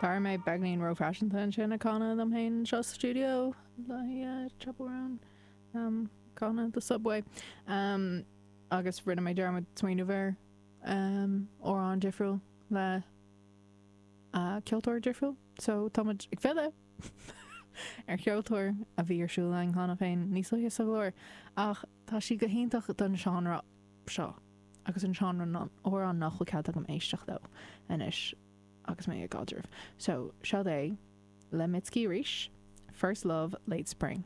D'éirigh mé beagáinín róphaiseanta ansin ag canadh liom féin anseo sa stiúideo le Chappell Roan ag canadh The Subway agus rinne mé dearmad smaoineamh ar amhrán difriúil le ceoltóir difriúil so táimid ag filleadh ar cheoltóir a bhí ar siúl againn cheana féin níos luaithe sa gclár ach tá sí go hiontach don seánra seo agus an seánra amhrán nach bhfuil cead agam éisteacht leo anois agus mé i gcaidreamh. So, seo é le Mitski arís, First Love, Late Spring.